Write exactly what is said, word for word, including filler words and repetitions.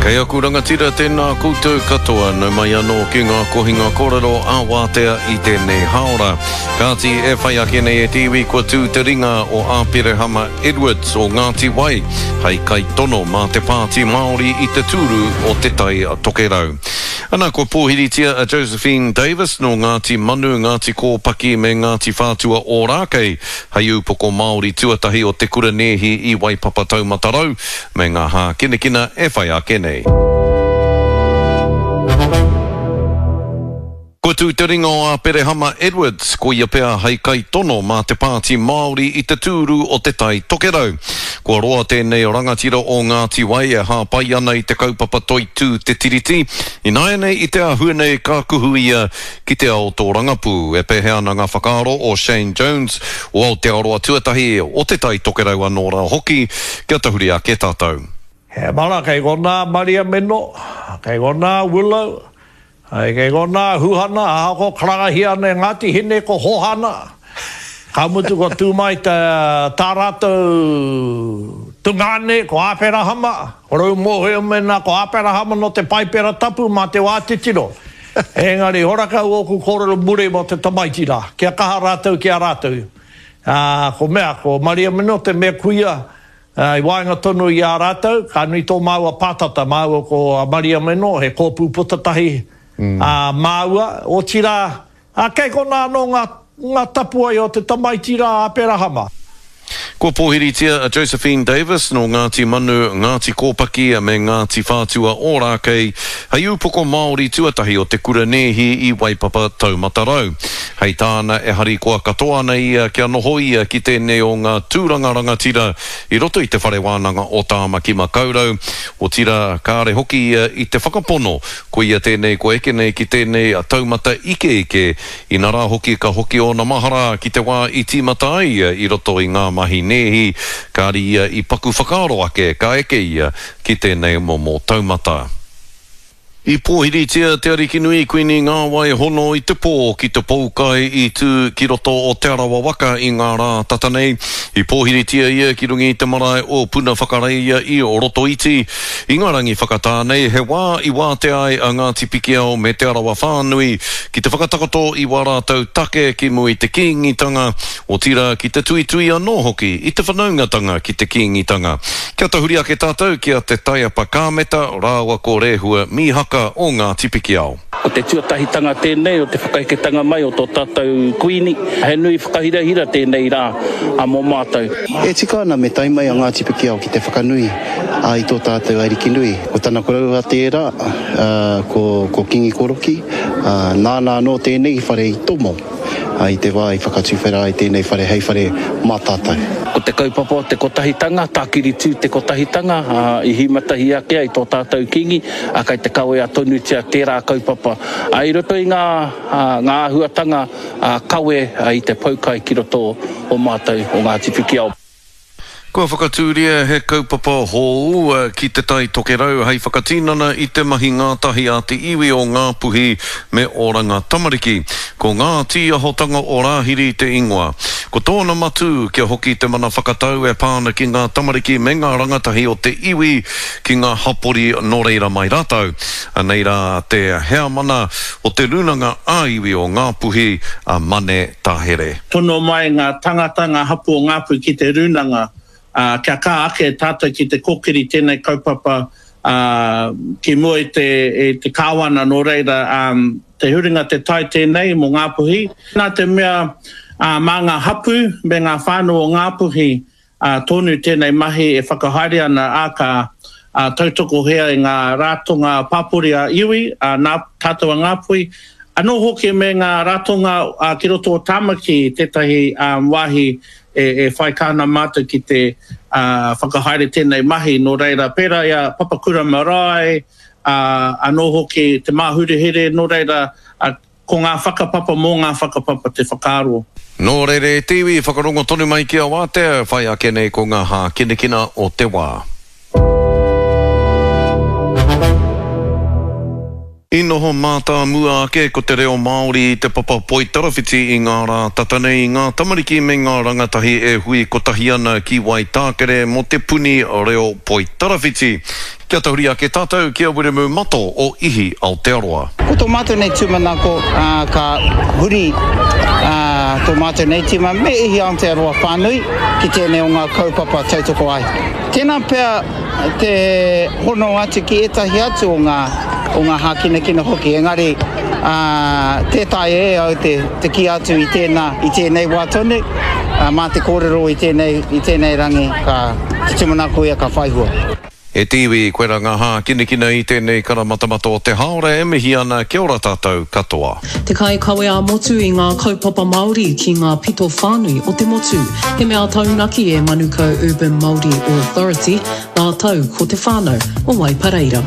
Kei aku rangatira tēnā koutou katoa, nau mai anō ki ngā kohinga kōrero a Wātea i tēnei hāora. Kāti e whai ake nei e te iwi kua tū te ringa o Āperehama Edwards o Ngāti Wai hei kaitono mā te Pāti Māori i te tūru o Te Tai Tokerau. Ana kua pōhiritia a Josephine Davis nō Ngāti Manu, Ngāti Kōpaki me Ngāti Whātua Ōrākei hei ūpoko Māori tuatahi o te kura nēhi i Waipapa Taumata Rau me ngā hākinakina e whai ake nei. Kua tū te ringa o Āperehama Edwards, ko ia pea hei kaitono mā te Pāti Māori i te tūru o Te Tai Tokerau. Kua roa tēnei rangatira o Ngāti Wai e hāpai ana i te kaupapa toitū te Tiriti. Ināianei i te āhua nei ka kuhu ia ki te ao tōrangapū. E pēhea ana ngā whakaaro o Shane Jones o Aotearoa Tuatahi o Te Tai Tokerau anō rā hoki, kia tahuri ake tātou. He mara kei konā Maria Meno, kei konā Willow, kei konā Huhana, ahako karangahia ana e Ngāti Hine ko Hohana. Ka mutu ko tū mai tā rātou tungāne ko Āperahama, ko Raumoheo mēnā ko Āperahama nō te Paipera Tapu mā te wā titiro. Engari horakau ōku kōrero muri mō te tamaiti rā, kia kaha rātou ki a rātou. Ko mea, ko Maria Meno te mea kuia, I waenga tonu i a rātou, ka nui tō māua pātata, māua ko Maria Meno, he kōpū putatahi māua, otirā, kei konā anō ngā, ngā tapuwae o te tamaiti rā Aperahama. Kua pōhiritia a Josephine Davis nō Ngāti Manu, Ngāti Kōpaki me Ngāti Whātua Ōrākei hei ūpoko Māori tuatahi o te kura nēhi i Waipapa Taumata Rau. Hei tāna e harikoa katoa ana ia kia noho ia ki tēnei o ngā tūranga rangatira i roto i te whare wānanga o Tāmaki Makaurau, otirā kāre hoki ia i te whakapono ko ia tēnei kua eke nei ki tēnei taumata ikeike, inarā hoki ka hoki ōna mahara ki te wā i tīmata ai ia i roto i ngā mahi nēhi, kāre ia i paku whakaaro ake ka eke ia ki tēnei momo taumata. I pōhiritia te Arikinui Kuini Ngāwai Hono i te pō ki te poukai i tū ki roto o Te Arawa Waka i ngā rā tata nei. I pōhiritia ia ki runga i te marae o Puna Whakareia i Rotoiti. I ngā rangi whakatā nei, he wā i wātea ai a Ngāti Pikiao me Te Arawa whānui ki te whakatakoto i wā rātou take ki mua i te Kīngitanga, otirā ki te tuitui anō hoki i te whanaungatanga ki te Kīngitanga. Kia tahuri ake tātou ki a Te Taiapa Kāmeta rāua ko Rehua Mīhaka o Ngāti Pikiao. Ko te tuatahitanga tēnei o te whakaheketanga mai o tō tātou kuini, he nui whakahirahira tēnei rā mō mātou. E tika ana me tae mai a Ngāti Pikiao ki te whakanui i tō tātou Arikinui. Ko tana koroua tērā, ko, ko Kingi Koroki, nāna anō tēnei whare i tomo i te wā i whakatuwhera ai tēnei whare hei whare mā tātou. Ko te kaupapa o te kotahitanga, tākiri tū te kotahitanga, i hīmatahi ake ai tō tātou Kingi, kai te kawea tonutia tērā kaupapa. I roto i ngā, ngā āhuatanga kawe i te poukai ki roto o mātou o Ngāti Pikiao. Kua whakatūria he kaupapa hou ki Te Tai Tokerau hei whakatinana i te mahi ngātahi a te iwi o Ngāpuhi me Oranga Tamariki. Ko ngā tīahotanga o Rāhiri te ingoa. Ko tōna matū kia hoki te mana whakatau e pā ana ki ngā tamariki me ngā rangatahi o te iwi ki ngā hapori nō reira mai rātou. Anei rā te heamana o te Rūnanga ā-iwi o Ngāpuhi a Mane Tahere. Tono mai ngā tangata, ngā hapū o Ngāpuhi ki te rūnanga, Uh, kia kā ake tātou ki te kōkiri tēnei kaupapa uh, ki mua i te, i te kāwana nō reira um, te huringa te tai tēnei mō Ngāpuhi. Nā te mea uh, mā ngā hapū me ngā whānau o Ngāpuhi uh, tonu tēnei mahi e whakahaere ana a ka uh, tautokohea i ngā ratonga pāpori a iwi, uh, nā tātou a Ngāpuhi. Anō hoki me ngā ratonga uh, ki roto o Tāmaki tētahi um, wāhi e, e whai kāna mātou ki te uh, whakahaere tēnei mahi. Nō reira, pērā i a Papakura Marae, uh, anō hoki te Māhurehere, nō reira, uh, ko ngā whakapapa mō ngā whakapapa te whakaaro. Nō reira e te iwi, whakarongo tonu mai ki a Wātea, whai ake nei ko ngā hākinakina o te wā. I noho mātāmua ake ko te reo Māori i te papa poitarawhiti i ngā rā tata nei i ngā tamariki me ngā rangatahi e hui kotahi ana ki Waitākere mō te puni reo poitarawhiti. Kia tahuri ake tātou ki a Wiremu Mato o Ihi Aotearoa. Ko tō mātou nei tūmanako, ā, ka huri, ā, tō mātou nei tīma me Ihi Aotearoa whānui ki tēnei o ngā kaupapa tautoko ai. Tēnā pea te hono atu ki ētahi atu o ngā, o ngā hākinakina hoki, engari, ā, tē taea e au te, te kī atu i tēnā, i tēnei wā tonu, ā, mā te kōrero i tēnei, i tēnei rangi ka, te tūmanako ia ka whai hua. E te iwi, koira ngā hākinakina i tēnei karamatamata o te haora e mihi ana, kia ora tātou katoa. Te kaikawe ā-motu i ngā kaupapa Māori ki ngā pito whānui o te motu. He mea taunaki e Manukau Urban Māori Authority, rātou ko te whānau o Waipareira.